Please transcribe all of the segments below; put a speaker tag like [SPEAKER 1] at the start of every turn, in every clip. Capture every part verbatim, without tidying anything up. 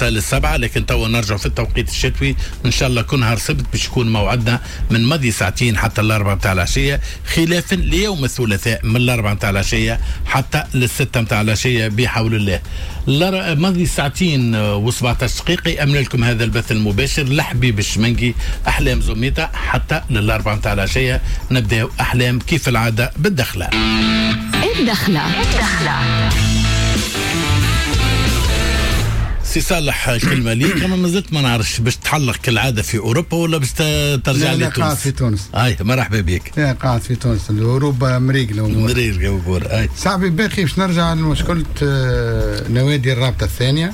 [SPEAKER 1] للسبعة، لكن توا نرجع في التوقيت الشتوي ان شاء الله كل نهار سبت باش يكون موعدنا من ماضي ساعتين حتى الأربعة متاع العشية، خلافا ليوم الثلاثاء من الأربعة متاع العشية حتى للستة متاع العشية بحول الله. ماضي ساعتين وسبعتاش دقيقة يأمن لكم هذا البث المباشر لحبيب الشمنقي أحلام زميطة حتى للأربعة متاع العشية. نبدأ أحلام كيف العادة بالدخلة.
[SPEAKER 2] الدخلة الدخلة
[SPEAKER 1] سي صالح كلمة ليك، أما مازلت ما نعرفش باش تحلق كالعادة في أوروبا ولا باش ترجع لي تونس؟
[SPEAKER 3] لا قاعد في تونس.
[SPEAKER 1] أي مرحبا بك.
[SPEAKER 3] لا قاعد في تونس، أوروبا مريقلة
[SPEAKER 1] مريقلة أمور. أي
[SPEAKER 3] صاحبي باقي باش نرجع لمشكلة نوادي الرابطة الثانية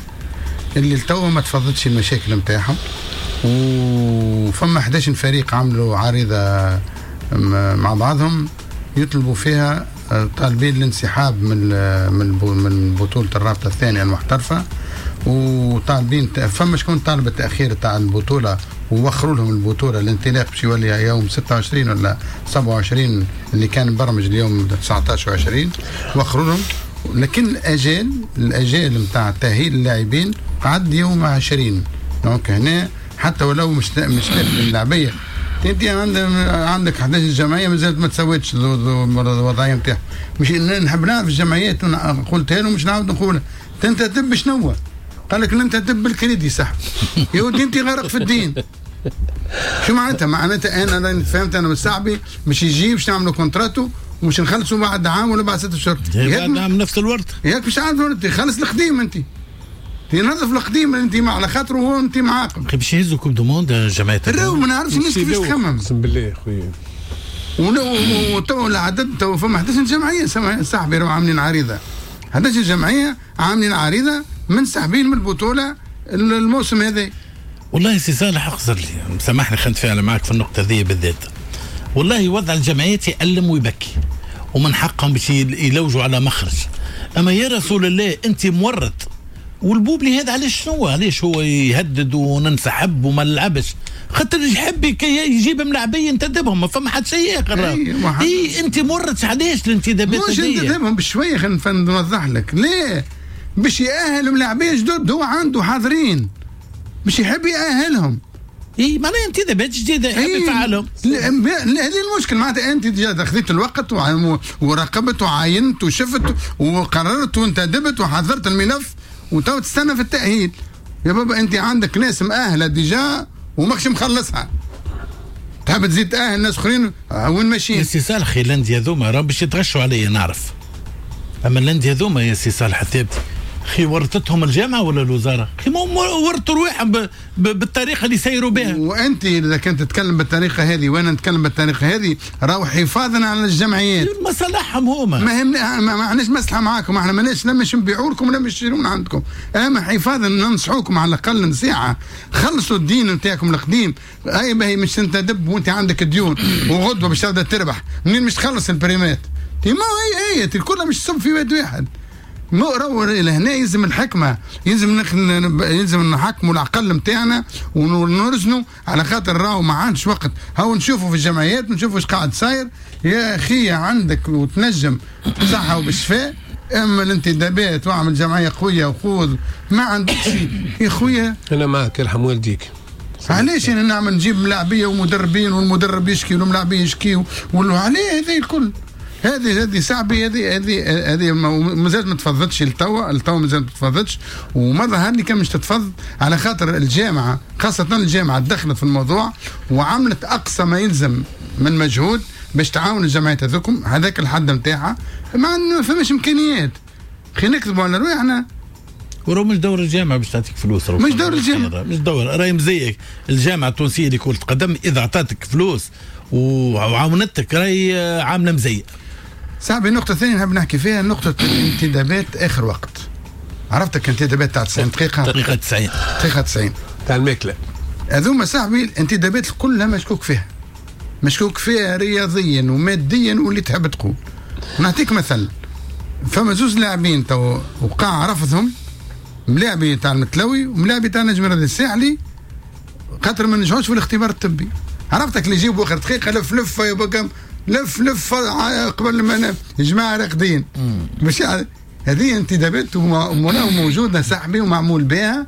[SPEAKER 3] اللي لتوا ما تفضتش المشاكل نتاعهم، وفما أحد عشر فريق عملوا عريضة مع بعضهم يطلبوا فيها طالبين الانسحاب من من بطولة الرابطة الثانية المحترفة، وطالبين فما شكون طالب التأخير تاع البطولة ووخروا لهم البطولة الانطلاق باش يولي يوم ستة وعشرين ولا سبعة وعشرين اللي كان مبرمج اليوم تسعة عشر وعشرين وخروا لهم، لكن الأجال الأجال نتاع تأهيل اللاعبين قعد يوم عشرين. donc هنا حتى ولو مش مش اللاعبية انت عندك عندك أحد عشر جمعية مازالت ما تسويتش الوضعية نتاعها. مش نحب نعرف الجمعيات قلتها لهم مش نعاود نقولها. تنتدب شنو؟ قال لك ننتدب بالكريدي صح يا ودي انت غرق في الدين. شو معناتها؟ معناتها انا فهمت انا بالصعبي مش يجي باش نعملوا contrat ومش نخلصوا بعد عام ولا بعد ست اشهر.
[SPEAKER 1] بعد عام نفس الورد
[SPEAKER 3] ياك مش عارف انت خلص القديم، انت تنظف القديم اللي انت مع على خاطره هو انت معاقب.
[SPEAKER 1] باش يهزوا coupe du monde جماعة
[SPEAKER 3] الرو ما نعرفش الناس كيفاش تخمم.
[SPEAKER 4] اقسم بالله خويا
[SPEAKER 3] وتو العدد تو فما أحد عشر جمعية صاحبي راهو عاملين عريضة، أحد عشر جمعية عاملين عريضة منسحبين من البطولة الموسم هذا.
[SPEAKER 1] والله سي صالح اقصر لي سامحني خلينا نتفاعل معك في النقطة ذي بالذات. والله وضع الجمعيات يألم ويبكي ومن حقهم باش يلوجوا على مخرج، اما يا رسول الله انت مورط والبوبلي هذا علاش شنو علاش هو يهدد وننسحب وما نلعبش؟ خاطر يحب يجيب ملاعبيه ينتدبهم، ما فما حد شيء اخر. اي انت مورط علاش الانتدابات
[SPEAKER 3] مش انتدبهم بشوية؟ خلينا نوضح لك ليه. باش يأهل ملاعبيه جدد هو عنده حاضرين باش يحب يأهلهم.
[SPEAKER 1] اي معناها انتدابات جديدة يحب يفعلهم.
[SPEAKER 3] هذه المشكل معناتها انت خذيت الوقت وراقبت وعاينت وشفت وقررت وانتدبت وحضرت الملف وتو تستنى في التأهيل. يا بابا انت عندك ناس مأهله déjà وماكش مخلصها، تحب تزيد تأهل ناس اخرين وين ماشيين؟
[SPEAKER 1] يا سي صالح الاندية هذوما راهم باش يتغشوا عليا نعرف، اما الاندية هذوما يا سي صالح الثابت خي ورطتهم الجامعة ولا الوزارة؟ خي ورطوا رواحهم بالطريقة اللي سيروا بها.
[SPEAKER 3] وانت اذا كنت تتكلم بالطريقة هذه وانا نتكلم بالطريقة هذه راهو حفاظا على الجمعيات
[SPEAKER 1] مصالحهم هما.
[SPEAKER 3] ما هم ما عندناش مصلحة معاكم، احنا ماناش لا مش نبيعوا لكم ولا مش نشتروا من عندكم، اما حفاظا ننصحوكم على الاقل نصيحة، خلصوا الدين نتاعكم القديم. اي باهي مش تنتدب وانت عندك ديون وغدوه باش تبدا تربح، منين مش تخلص البريمات؟ ما هي هي الكل مش تصب في واد واحد. مو راهو لهنا يلزم الحكمة، يلزم نخ... يلزم نحكموا العقل نتاعنا ونرزنوا على خاطر راهو ما عادش وقت. هاو نشوفوا في الجمعيات نشوفوا اش قاعد صاير. يا اخي عندك وتنجم صحة وبالشفاء، اما الانتدابات واعمل جمعية قوية وخوذ ما عندكش يا خويا.
[SPEAKER 4] انا معك يرحم والديك.
[SPEAKER 3] علاش انا نعمل نجيب ملاعبيه ومدربين والمدرب يشكي والملاعبيه يشكي وعليه هذه الكل؟ هذه هذه صعبة، هذه هذه هذه مازالت ما تفضتش لتوا، لتوا مازالت ما تفضتش وما ظهر لي كان مش تتفض على خاطر الجامعة، خاصة الجامعة دخلت في الموضوع وعملت اقصى ما يلزم من مجهود باش تعاون الجمعيات هذوكم هذاك الحد نتاعها، ما فماش امكانيات. خلينا نكذبوا على رواحنا.
[SPEAKER 1] وراه مش دور الجامعة باش تعطيك فلوس،
[SPEAKER 3] مش دور الجامعة،
[SPEAKER 1] مش دور راهي مزيك الجامعة التونسية اللي كرة قدم اذا اعطتك فلوس وعاونتك راهي عامله مزية.
[SPEAKER 3] صاحبي النقطة الثانية نحب نحكي فيها نقطة الانتدابات آخر وقت. عرفتك انتدابات تاع تسعين دقيقة؟
[SPEAKER 1] دقيقة تسعين
[SPEAKER 3] دقيقة تسعين
[SPEAKER 4] تاع الماكلة.
[SPEAKER 3] هذوما صاحبي الانتدابات كلها مشكوك فيها. مشكوك فيها رياضيا وماديا واللي تحب تقول. نعطيك مثل، فما زوز لاعبين تو وقع رفضهم، ملاعبي تاع المتلوي وملاعبي تاع نجم الرياضي الساحلي خاطر ما نجحوش في الاختبار الطبي. عرفتك اللي يجيبوا آخر دقيقة لف لف يا بكم لف لف قبل ما جماعة راقدين. مش هذه انتدابات وموجودة صاحبي ومعمول بها.